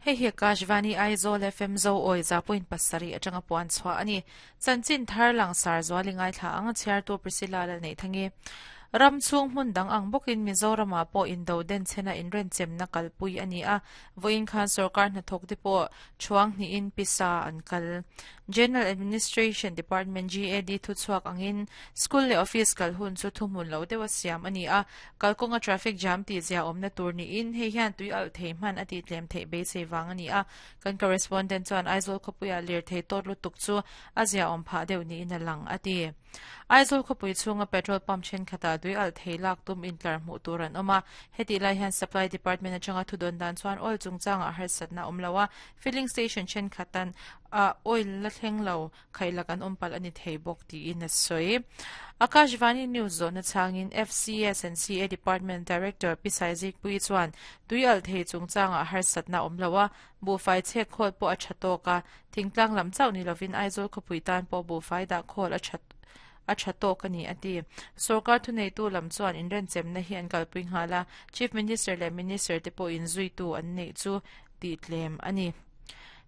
Hei hi Akashvani Aizawl FM Zo awi 100.7 atanga puan chhuah a ni. Chanchin thar langsar zual i ngaithla ang a chhiartu Priscilla Lalneihthangi. Ram chhung hmun dang ang bawkin Mizoramah pawh indo denchhena inrenchemna kalpui a ni a, vawiin khan sorkar hnathawk te pawh thuang hnihin pisa an kal. General Administration Department, GAD, thuchhuak angin school leh office kal hun chu thuhmun lo deuha siam a ni a, kalkawnga traffic jam tih zia awmna tur niin hei hian tui alh thei hman a tihtlem theih beisei vang a ni a. Kan correspondent chuan Aizawl khawpuia lirthei tawt lutuk chu a ziaawm phah deuh niin a lang, a ti. Aizawl khawpui chhunga petrol pump thenkhatah tui alh thei lak tum intlar hmuh tur an awm a, hetih lai hian supply department atanga thudawn dan chuan oil chungchangah harsatna a awm lo a, filling station thenkhat ah oil la thleng lo khaihlak an awm palh a ni thei bawk tiin a sawi. Akashvani News zawhna chhangin FCS and CA Department Director Pi Saizikpuii chuan tui alh thei chungchangah harsatna a awm lo a, buhfai chhek khawl pawh a tha tawk a, thingtlang lam chauh ni lovin Aizawl khawpui tan pawh buhfai dah khawl a tha a tha tawk a ni a ti. Sorkar thuneitu lam chuan inrenchemna hi an kalpui nghal a, Chief Minister leh Minister te pawhin zuitu an neih chu tihtlem a ni.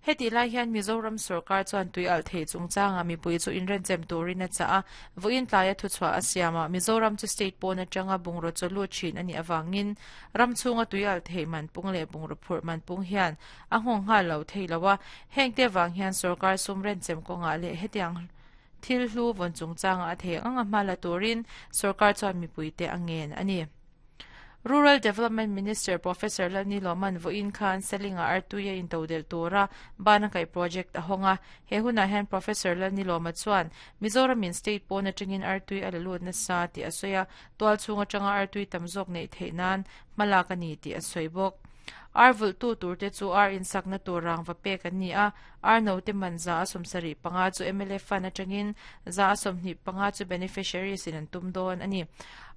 Hetih lai hian Mizoram sorkar chuan tui alh theih chungchangah mipui chu inrenchem turin a chah a, vawiin tlaia thuchhuah a siam a, Mizoram chu state pawn atanga bungraw chaw lut thin a nih avangin ram chhunga tui alh theih man pung leh bungraw phurh man pung hian a nghawng nghal lo thei lo a, hengte avang hian sorkar sum renchem kawngah leh hetiang thil hlu vawn chungchangah a thei ang anga hma la turin sorkar chuan mipuite a ngen a ni. Rural Development Minister Professor Lalni Lawman vawiin khan Selinga artui a intodelh tura ban a kaih project a hawng a. He hunah hian Professor Lalni Lawma chuan Mizoramin state pawn atangin artui a la lut nasa tih a sawi a, tual chhung atanga artui tam zawk neih theih nan hmalak a ni tih a sawi bawk. Ar vulhtu turte chu ar insakna tur rangva pek an ni a, ar note man 75% chu mla fund atangin 25% chu beneficiaries in an tum dawn a ni.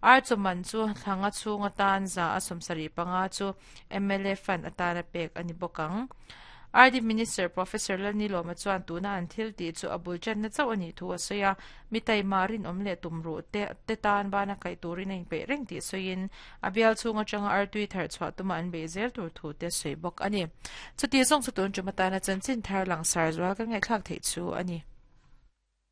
Ar chaw man chu thlanga chhung atan 75% chu mla fund atana pek a ni bawk ang. RD Minister Professor Lalnilawma chuan tuna an thil tih chu a bul channa chauh a nih thu a sawi a, mi taima rinawm leh tumruh te te tan bana kaih turin a inpeih reng tih sawiin a bial chhung atanga artui thar chhuah tuma an beih zel tur thu te sawi bawk a ni. Chuti zawng chu tun tum atana chanchin thar langsar zual kan ngaihthlak theih chu a ni.